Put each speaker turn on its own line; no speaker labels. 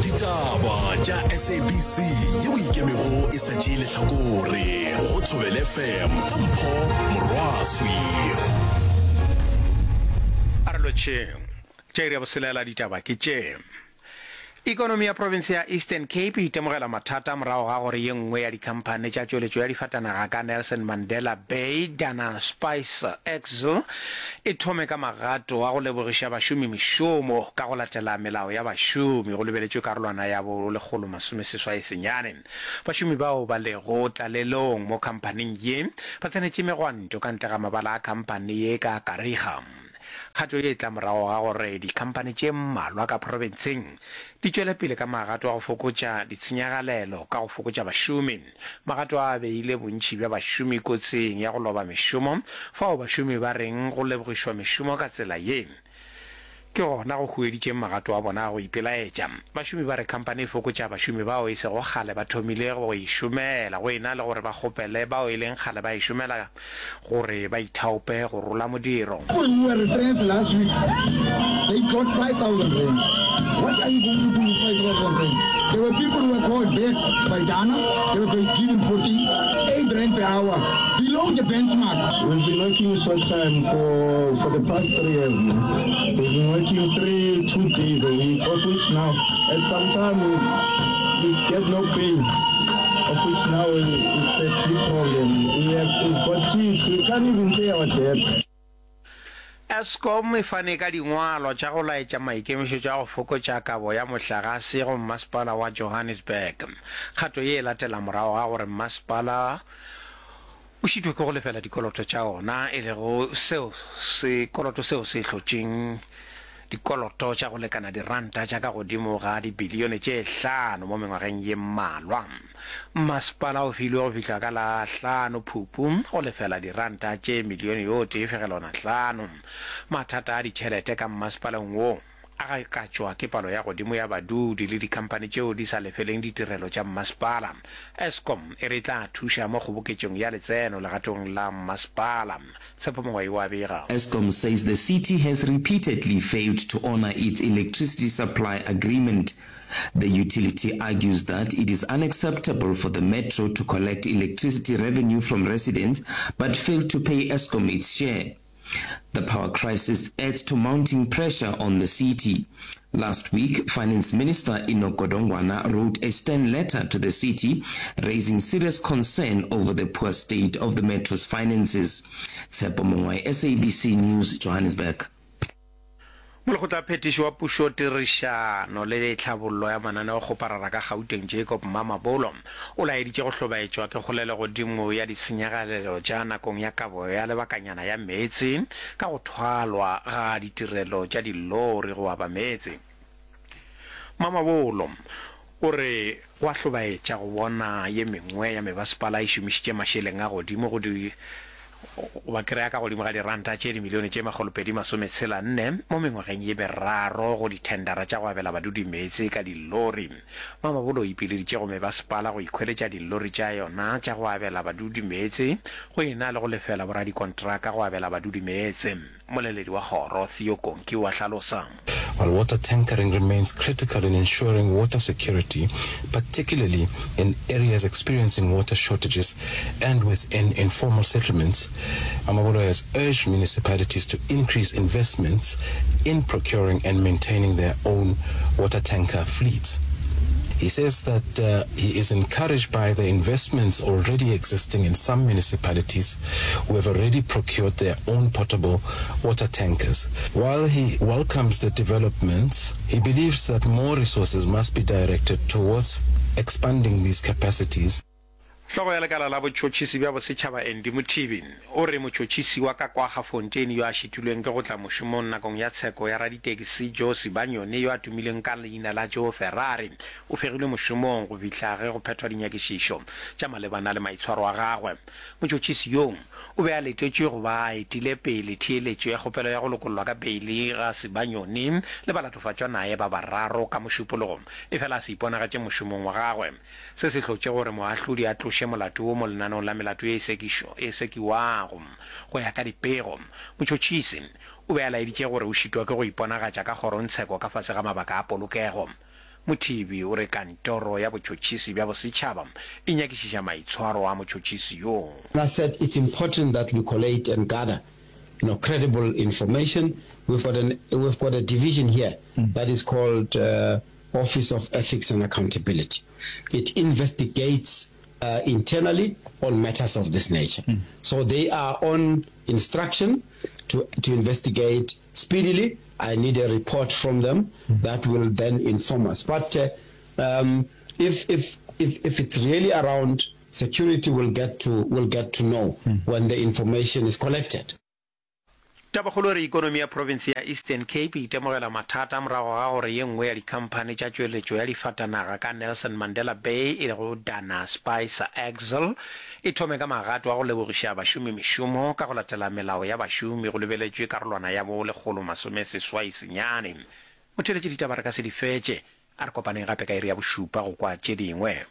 Ditaba tša SABC yeo e ikemego e sa tšee lehlakore go Thobela FM ka Mpho Morwaswi.
A re lotšheng. Tša iri ya boselela ditaba ke tše. Ikonomi ya profense ya Eastern Cape e itemogela mathata morago ga gore ye nngwe ya dikhamphane tša tšweletšo ya difatanaga ka Nelson Mandela Bay, Dana Spice Axle, e thome ka magato a go lebogiša bašomi mešomo ka go latela melao ya bašomi go lebeletšwe karolwana ya bo 189. Bašomi bao ba lego tlalelong mo khamphaneng ye ba tsenetše megwanto ka ntle ga mabala a khamphane ye ka Kariga. Kgato ye e tla morago ga gore dikhamphani tše mmalwa ka profenseng di tšwele pele ka magato a go fokotša ditshenyagalelo ka go fokotša bašomi. Magato a a beile bontši bja bašomi kotsing ya go loba mešomo, fao bašomi ba reng go lebogišwa mešomo ka tsela ye ke gona go hueditšeng magato a bona a go ipelaetša. Bašomi ba re khamphani e fokotša bašomi bao e sego kgale ba thomile go e šomela go e na le gore ba kgopele bao e leng kgale ba e šomela gore ba ithaope go rola modiro.
People who were retrenched last week, they got 5,000 rands. What are you going to do with 5,000 rands? There were people who were called back by Dana, they were given 48 rand per hour, below the benchmark.
We've been working short time for, for the past three years now. We've been working three, two days a week, of which now, at some time we, we get no pay, of which now we, it's a big problem. We have, we've got kids, we can't even pay our debts.
Eskom e fane ka dingwalwa tša go laetša maikemišetšo a go fokotša kabo ya mohlagase go Mmasepala wa Johannesburg. Kgato ye e latela morago ga gore mmasepala o šitwe ke go lefela dikoloto tša ona, e lego seo sekoloto seo se hlotšeng dikoloto tša go lekana diranta tša ka godimo ga dibilione tše hlano mo mengwageng ye mmalwa. Mmasepala o filwe go fihla ka la hlano Phupu go lefela diranta tše milione yo tee fegelwana hlano. Mathata a ditšhelete ka mmasepaleng wo a gakatšwa ke palo ya godimo ya badudi le dikhamphani tšeo di sa lefeleng ditirelo tša mmasepala. Eskom e re e tla thuša mo kgoboketšong ya letseno legatong la mmasepala. Tshepo Mongwai o a bega.
Eskom says the city has repeatedly failed to honor its electricity supply agreement. The utility argues that it is unacceptable for the metro to collect electricity revenue from residents but fail to pay Eskom its share. The power crisis adds to mounting pressure on the city. Last week, Finance Minister Enoch Godongwana wrote a stern letter to the city raising serious concern over the poor state of the metro's finances. Tshepo Mongwai, SABC News, Johannesburg.
Molekgotlaphethiši wa Pušo, Tirišano le Tlhabollo ya Mananeokgoparara ka Gauteng Jacob Mamabolo o laeditše go hlobaetšwa ke kgolelogodimo ya ditshenyagalelo tša nakong ya kabo ya lebakanyana ya meetse ka go thwalwa ga ditirelo tša dilori go aba meetse. Mamabolo o re go a hlobaetša go bona ye mengwe ya mebasepala e šomišitše mašeleng a godimo go di goba kry-a ka godimo ga diranta tše dimilione tše makgolopedi-masometshela-nne mo mengwageng ye meraro go dithendara tša go abela badudi meetse ka dillori. Mamabolo o ipileditše go mebasepala go ikhweletša dillori tša yona tša go abela badudi meetse go e na le go lefela boradikontraka go abela badudi meetse. Moleledi wa kgoro, Theo Konki o a hlalosa.
While water tankering remains critical in ensuring water security, particularly in areas experiencing water shortages and within informal settlements, Mamabolo has urged municipalities to increase investments in procuring and maintaining their own water tanker fleets. He says that uh, he is encouraged by the investments already existing in some municipalities who have already procured their own portable water tankers. While he welcomes the developments, he believes that more resources must be directed towards expanding these capacities.
Hlogo ya lekala la botšhotšhisi bja bosetšhaba Andy Mothibi o re motšhotšhisi wa ka kwa Gafontein yo a šitilweng ke go tla mošomong nakong ya tsheko ya raditekisi Joe Sibanyoni yo a tumileng ka leina la Joe Ferrari o fegilwe mošomong go fihla ge go phethwa dinyakišišo tša malebana le maitshwaro a gagwe. Motšhotšhisi yoo o be a letetšwe go ba a etile pele theeletšo ya kgopelo ya go lokollwa ka beili ga Sibanyoni le balatofatšwa naye ba bararo ka Mošupologo, efela a se iponagatše mošomong wa gagwe. Se se hlotše gore moahlodi a tloše molato wo mo lenaneong la melato ye e sekiwago. Go ya ka dipego, motšhotšhisi o be a laeditše gore o šitwa ke go iponagatša ka kgorongtsheko ka fase ga mabaka a polokego. Mothibi o re kantoro ya botšhotšhisi bja bosetšhaba e nyakišiša maitshwaro a motšhotšhisi yo.
I said it's important that we collate and gather you know credible information. We've got an we've got a division here that is called uh, Office of Ethics and Accountability. It investigates uh, internally on matters of this nature. Mm. So they are on instruction to, to investigate speedily. I need a report from them mm. that will then inform us. But uh, um, if, if, if, if it's really around security, we'll get to, we'll get to know mm. when the information is collected.
Tabakgolo e re ikonomi ya profense ya Eastern Cape e itemogela mathata morago ga gore ye nngwe ya dikhamphani tša tšweletšo ya difatanaga ka Nelson Mandela Bay e lego Dana Spicer Axle e thome ka magato a go lebogiša bašomi mešomo ka go latela melao ya bašomi go lebeletšwe karolwana ya bo 189. Motheeletši ditaba re ka se di fetše. A re kopaneng gape ka iri ya bošupa go kwa tše dingwe.